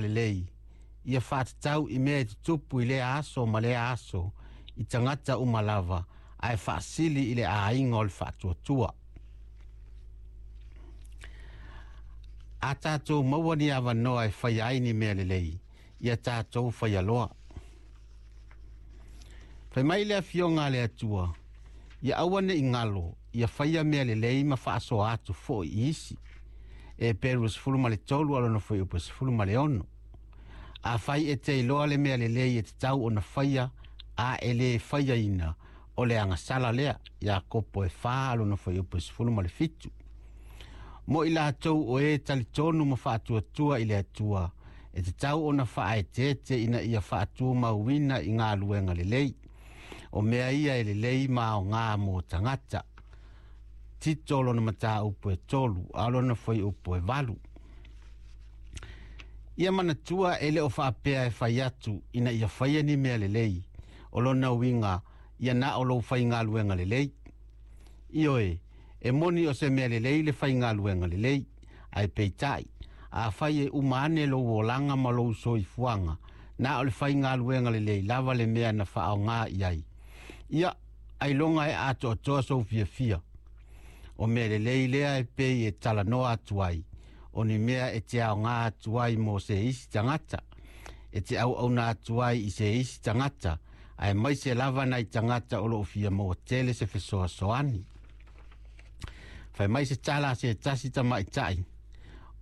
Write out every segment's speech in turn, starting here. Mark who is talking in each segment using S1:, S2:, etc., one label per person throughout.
S1: Lelei ia faatatau i mea e tutupu i lea aso ma lea aso i tagata uma lava, ae faasili i le aiga o le faatuatua. A tatou maua ni avanoa e faia ai ni mea lelei, ia tatou faia loa. Fai mai le afioga a le Atua, ia aua ne i galo, ia faia mea lelei ma faasoa atu foi i isi. Eperu 13 alona fuaiupu 16. Afai e te iloa le mea lelei e tatau ona faia, a e lē faiaina, o le agasala lea. Iakopo e 4 alona fuaiupu 17. Mo i latou o e talitonu ma faatuatua i le Atua, e tatau ona faaeteete ina ia faatumauina i galuega lelei. O mea ia e lelei ma aoga mo tagata. Tito lona mataupu e 3, a lona fuaiupu e 8. Ia manatua e le o faapea e fai atu ina ia faia ni mea lelei, o lona uiga ia na o lou faigaluega lelei. Ioe, e moni o se mea lelei le faigaluega lelei, ae peitai, afai e uma ane lou olaga ma lou soifuaga, na o le faigaluega lelei lava le mea na faaaoga i ai. Ia, ailoga e atoatoa sou fiafia. O mea lelei lea e pei e talanoa atu ai, o ni mea e te aoga atu ai mo se isi tagata, e te auauna atu ai i se isi tagata, aemaise lava nai tagata o loo fia maua tele se fesoasoani. Fai mai se tala a se tasi tamaitai,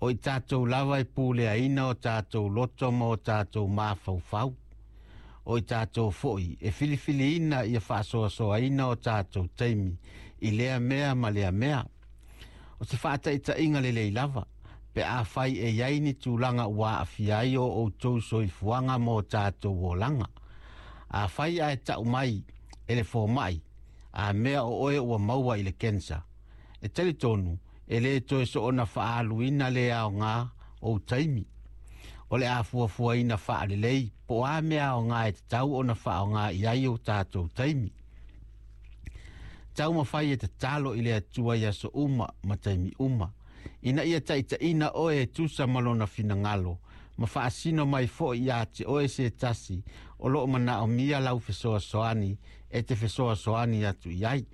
S1: o i tatou lava e puleaina o tatou loto ma o tatou mafaufau. O i tatou foi e filifiliina ia faasoasoaina o tatou taimi i lea mea ma lea mea. O se faataitaiga lelei lava, pe afai e i ai ni tulaga ua aafia ai o outou soifuaga ma o tatou olaga. Afai ae tau mai e le fomai, a mea o oe ua maua i le kensa, e talitonu e lē toe soona faaaluina le aoga ou taimi. O le a fuafuaina faalelei po o a mea aoga e tatau ona faaaoga i ai o tatou taimi. Taumafai e tatalo i le Atua i aso uma ma taimi uma, ina ia taitaiina oe e tusa ma lona finagalo, ma faasino mai foi iā te oe se tasi o loo manaomia lau fesoasoani e te fesoasoani atu i ai.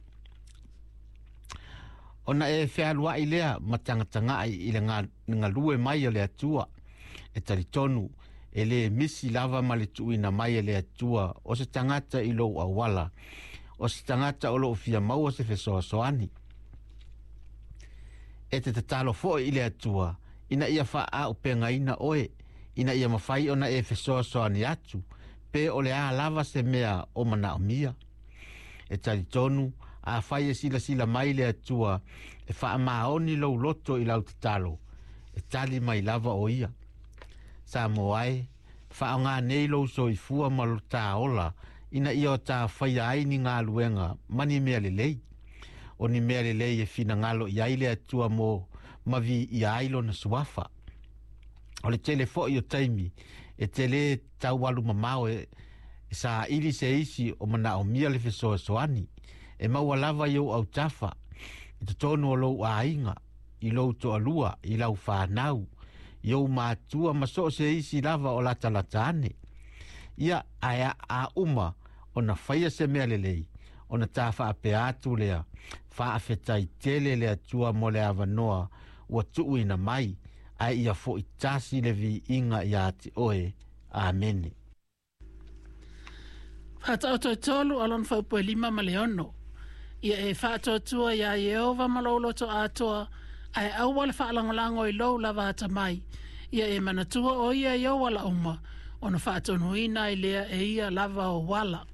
S1: Ona e fealuai lea ma tagatagaai i le galue mai o le Atua, e talitonu e lē misi lava ma le tuuina mai e le Atua o se tagata i lou auala, o se tagata o loo fia maua se fesoasoani. E te tatalo foi i le Atua ina ia faaaupegaina oe, ina ia mafai ona e fesoasoani atu, pe o le a lava se mea o manaomia. E talitonu, afai e silasila mai le Atua e faamaoni lou loto i lau tatalo, e tali mai lava o ia. Samoa e, faaaoga nei lou soifua ma lo tā ola, ina ia o tā faia ai ni galuega ma ni mea lelei. O ni mea lelei e finagalo i ai le Atua mo ma viia ai lona suafa. O le tele foi o taimi e te lē taualu mamao e saili se isi o manaomia le fesoasoani, e maua lava i ou autafa, i totonu o lou aiga, i lou toalua, i lau fanau, i ou matua ma so o se isi lava o latalata ane. Ia, ae a uma ona faia se mea lelei, ona tā faapea atu lea, faafetai tele le Atua mo le avanoa ua tuuina mai, ae ia foi tasi le viiga iā te oe. Amene.
S2: Faataoto e 3 alona fuaiupu e 5 ma le 6. Ia e faatuatua iā Ieova ma lou loto atoa, ae aua le faalagolago i lou lava atamai. Ia e manatua o ia i ou ala uma, ona faatonuina ai lea e ia lava ou ala.